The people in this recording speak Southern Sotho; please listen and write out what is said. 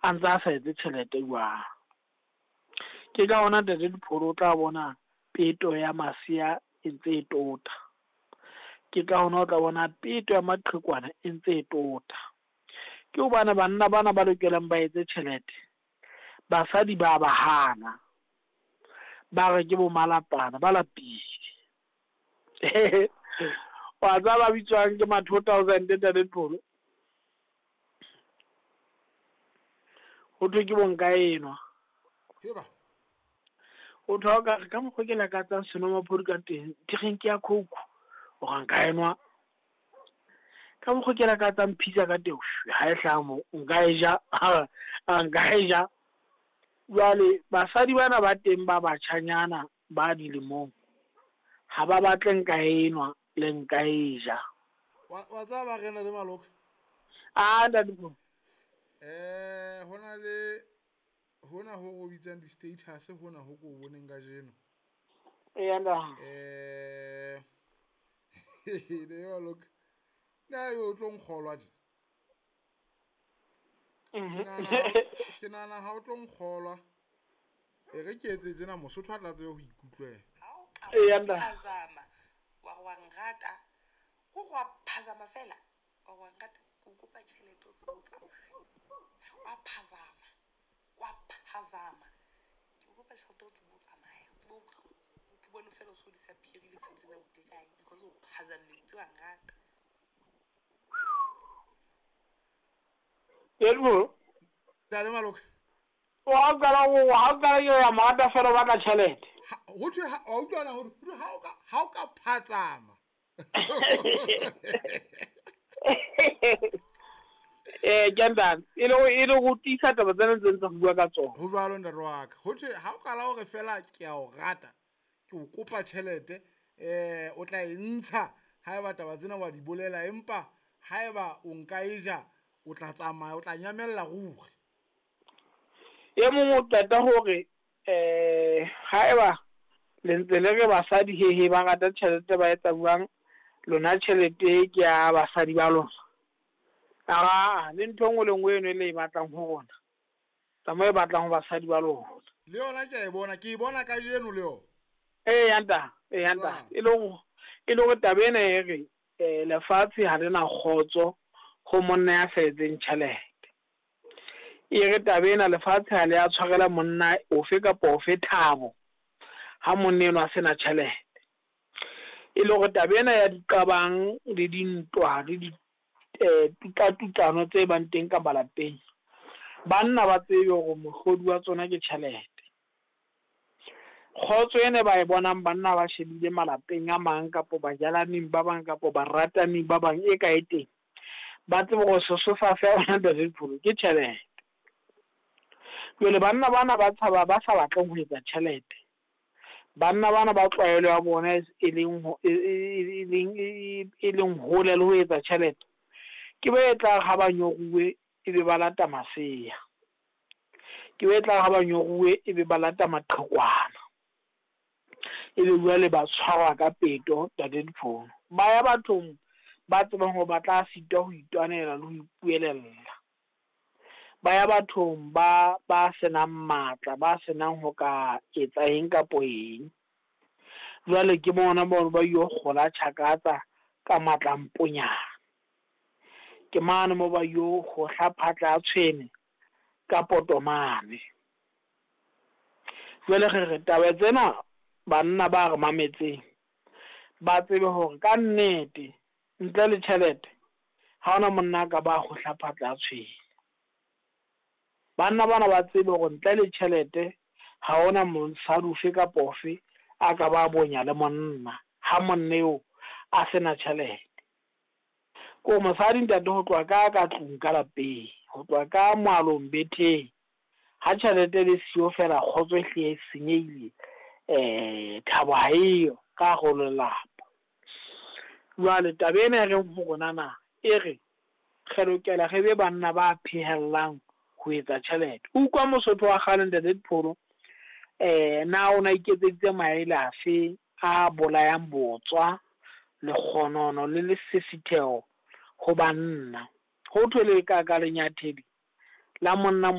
A ntse a sa etse tjhelete jwang. Ke ka hona Ntate Dipholo o tla bona peto ya masea e ntse e tota. Ke ka hona o tla bona peto ya maqhekwana e ntse e tota. Ke hobane banna bana ba lokelang ba etse tjhelete, basadi ba ba hana. Ba re ke bo malapana, ba lapile. Wa tseba ba bitswang ke ma 2000 Ntate Dipholo? Ho thwe ke bo nka enwa. Heba. O thwe ha o ka re ka mokgwa ke lakatsang senomaphodi ka teng, drink ya Coke, o re nka enwa. Ka mokgwa ke lakatsang pizza ka teng, ha e hlaha moo, nka e ja, nka e ja. Jwale basadi bana ba teng ba batjhanyana ba dilemong, ha ba batle nka enwa le nka e ja. Wa tseba ba rena le maloka? Ah, Ntate Pholo. Hona le hona ho go bitsang di-status hona ho ko boneng kajeno. Eya nna. Ne maloka. Na yo o tlo nkgolwa tje? Ke nahana ha o tlo nkgolwa. E re ke etse tjena Mosotho a tla tsebe ho ikutlwela. Ha o ka Eya nna. phazama, wa re wa nrata, ko go wa phazama fela, wa re wa nrata, ke o kopa tjhelete o tsebe o tsamaya. Wa phazama, wa phazama. Ke o kopa tjhelete o tsebe o tsamaya, o tsebe o ke bone fela o so disappear-ile letsatsi lena o ile kae, because o phazamme, o itse wa nrata. Yebo. Ntate Maloka. O ha o qala ho, ha o qala ke ya mo rata fela o batla tjhelete. Ha, ho thwe ha, wa utlwa na hore, ho thwe ha o ka, ha o ka phatsama. Ke ntate, e le ho, e le ho tiisa taba tsena tse ntse re bua ka tsona. Ho jwalo ntate wa ka. Ho thwe ha o qala hore fela ke a o rata, ke o kopa tjhelete, o tla e ntsha haeba taba tsena wa di bolela, empa haeba o nka e ja, o tla tsamaya, o tla nyamella ruri. E mong o qeta hore, haeba le ntse le re basadi hehe ba rata tjhelete ba etsa jwang, lona tjhelete ke ya basadi ba lona. Aa, le ntho e nngwe le nngwe eno e le e batlang ho rona, tsamaya e batlang ho basadi ba lona. Le yona ke a e bona, ke e bona kajeno le yona. Eya ntate, eya ntate. E le hore, e le hore taba ena e re, lefatshe ha le na kgotso ho monna ya sa etseng tjhelete. E re taba ena lefatshe ha le a tshwarela monna ofe kapa ofe thabo ha monna enwa a sena tjhelete. E le hore taba ena ya diqabang le dintwa le di, tutatutlano tse bang teng ka malapeng, banna ba tsebe hore mohlodi wa tsona ke tjhelete. Kgotso ena ba e bonang banna ba shebile malapeng a mang kapo bajalaneng ba bang kapo barataneng ba bang e ka e teng, ba tsebe hore sesosa sa yona Ntate Dipholo ke tjhelete. Jwale banna bana ba tshaba ba sa batleng ho etsa tjhelete, banna bana ba tlwaelo ya bona e leng ho, e, e, e, e leng, e, e, e leng hole le ho etsa tjhelete, ke ba e tlang ha ba nyoruwe e be ba lata masea, ke ba e tlang ha ba nyoruwe e be ba lata maqhekwana, e be jwale ba tshwarwa ka peto Ntate Dipholo. Ba ya bathong ba tsebang hore ba tla sitwa ho itwanela le ho ipuelella. Ba ya bathong ba senang matla, ba senang ho ka etsa eng kapo eng. Jwale ke bona bao ba yo kgola tjhakatsa ka matla a mponyana. Ke mane moo ba yo hohla phatla ya tshwene ka potomane. Jwale re re taba tsena banna ba re mametseng ba tsebe hore ka nnete ntle le tjhelete ha hona monna a ka ba hohla phatla ya tshwene. Banna bana ba tsebe hore ntle le tjhelete ha hona mosadi ofe kapa ofe a ka ba bonya le monna ha monna eo a sena tjhelete. Ko mosadi ntate ho tloha ka tlung ka lapeng, ho tloha ka moalong betheng, ha tjhelete le siyo fela kgotso e hle e senyehile, thabo ha eyo ka hare ho lelapa. Jwale taba ena e reng ho rona na, e re re lokela re be banna ba phehellang ho etsa tjhelete. Utlwa Mosotho wa kgale Ntate Dipholo, na o na iketseditse maele afe a bolayang botswa, lekgonono le lesisitheho ho banna? Ho thwe le ka ka lenyathedi la monna